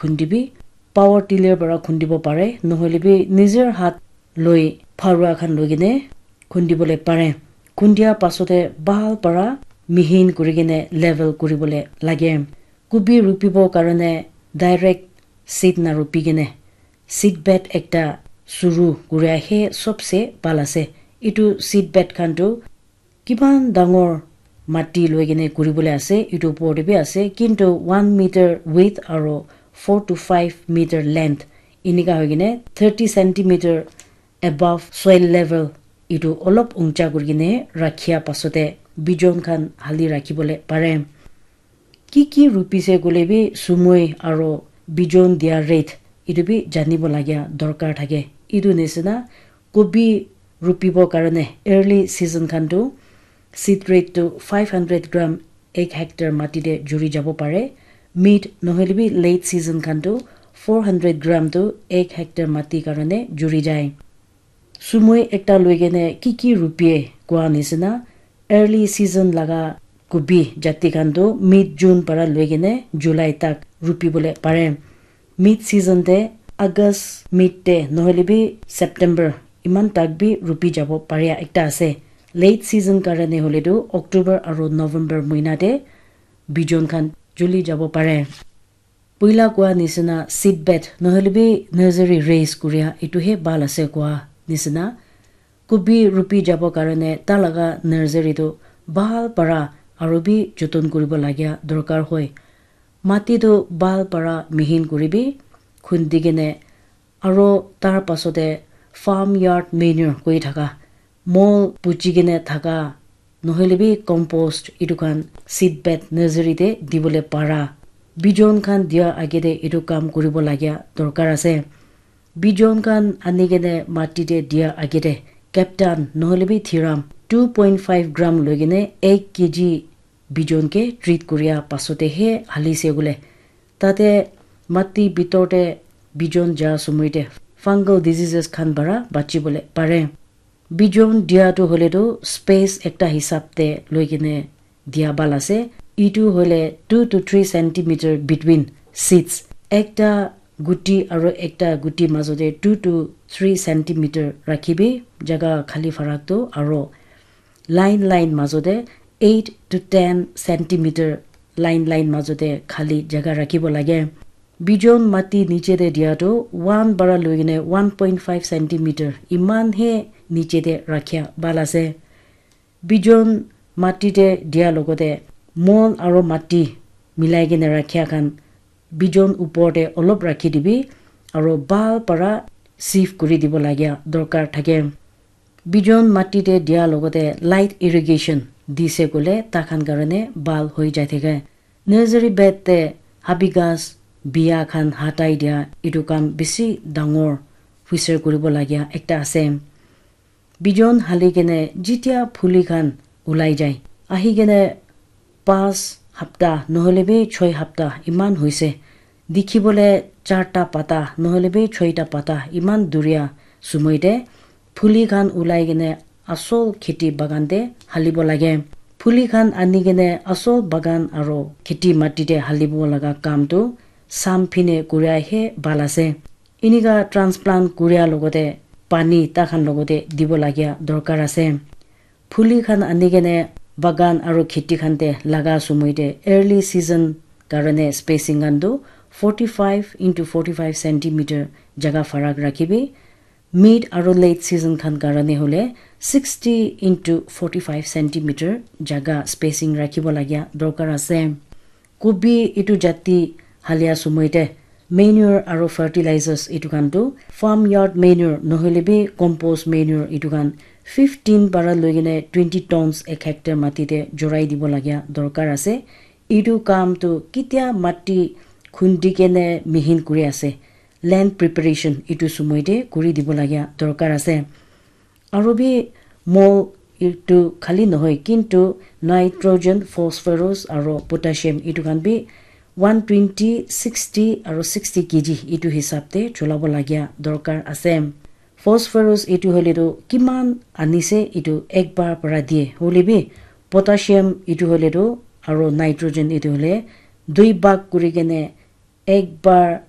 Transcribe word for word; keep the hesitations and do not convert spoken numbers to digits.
khundi bi power tiller para khundibo pare, nohoile bi nijer hat loi pharua khan loi kene khundibole pare. Khundia pasate bhal para mihin kuri kene level kuribole lage. Kubi rupibo karone direct seed na rupi kene seedbed ekta suru kuria he sobse bhal ase. Etu seedbed khan tu kiman dangor mati loi kene kuribole ase, etu upor te bi ase, kintu one meter width aro four to five meter length, enika hoi kene thirty centimeter above soil level, etu olop uncha kuri kene rakhia pasate bijon khan hali rakhibole pare. Ki ki rupise koile bi sumoi aro bijon dia rate etu bi janibo lagia dorkar thake. Etu nisina kobi rupibo karone early season khan tu seed rate tu five hundred gram ek hectare mati te juri jabo pare. Mid nohoile bi late season khan tu four hundred gram tu ek hectare mati karone juri jai. Sumoi ekta loi kene ki ki rupie koa nisina early season laga kubi jati khan tu mid June para loi kene July tak rupibole pare. Mid season te August mid te nohoile bi September iman tak bi rupi jabo paria ekta ase. Late season karone hoile tu October aro November moina te bijon khan juli jabo pare. Puila koa nisina seedbed nohoile bi nursery raise kuria etu he bhal ase koa nisina. Kubi rupi jabo karone ta laga nursery tu bhal para aro bi joton kuribo lagia dorkar hoi. Mati tu bhal para mihin kuribi khundi kene aro tar pasate farm yard manure koi thaka mol puchi kene thaka nohoile bi compost etu khan seedbed nursery te dibole para. Bijon khan dia age te etu kam kuribo lagia dorkar ase. Bijon khan ani kene mati te dia age te captain nohoile bi thiram two point five gram loi kene ek kg bijon ke treat kuria pasate he halise gule. Tate mati bitor te bijon ja sumoi te fungal diseases khan para bachibole pare. Bijon dia tu hoile tu space ekta hisab te loi kene dia bhal ase. Etu hoile two to three centimeter between seeds. Ekta guti aro ekta guti majo te two to three centimeter rakhibi jaga khali farak tu aro line line majo te eight to ten centimeter line line majo te khali jaga rakhibo lage. Bijon mati niche te dia tu one para loi kene one point five centimeter iman he niche te rakhia bhal ase. Bijon mati te dia logote mol aro mati milai kene rakhia khan bijon upor te olop rakhi dibi aro bhal para sieve kuri dibo lagia dorkar thake. Bijon mati te dia logote light irrigation dise koile takhan karone bhal hoi jai thake. Nursery bed te habi ghas bia khan hatai dia etu kam bishi dangor huisar kuribo lagia ekta ase. Bijon hali kene jitia phuli khan ulai jai ahi kene pas hapta nohoile bi choi hapta iman hoise. Dikhibole charta pata nohoile bi choita pata iman duria sumoi te phuli khan ulai kene asol kheti bagan te halibo lage. Phuli khan ani kene asol bagan aro kheti mati te halibo laga kam tu sam phine kuria he bhal ase. Enika transplant kuria logote pani takhan logote dibo lagia dorkar ase. Phuli khan ani kene bagan aro kheti khan te laga sumoi te early season karone spacing khan tu forty five into forty five centimeter jaga farak rakhibi. Mid aro late season khan karone hole sixty into forty five centimeter jaga spacing rakhibo lagia dorkar ase. Kubi etu jati halia sumoi te manure aro fertilizers etu khan tu farm yard manure nohoile bi compost manure etu khan fifteen para loi kene twenty tons ek hectare mati te jorai dibo lagia dorkar ase. Etu kam tu kitia mati khundi kene mihin kuri ase, land preparation etu sumoi te kuri dibo lagia dorkar ase. Aro bi mol etu khali nohoi, kintu nitrogen, phosphorus aro potassium etu khan bi one twenty, sixty aro sixty K G etu hisab te cholabo lagia dorkar ase. Phosphorus etu hoile tu kiman anise etu ekbar para diye, hoile bi potassium etu hoile tu aro nitrogen etu hoile dui bhag kuri kene Ek bar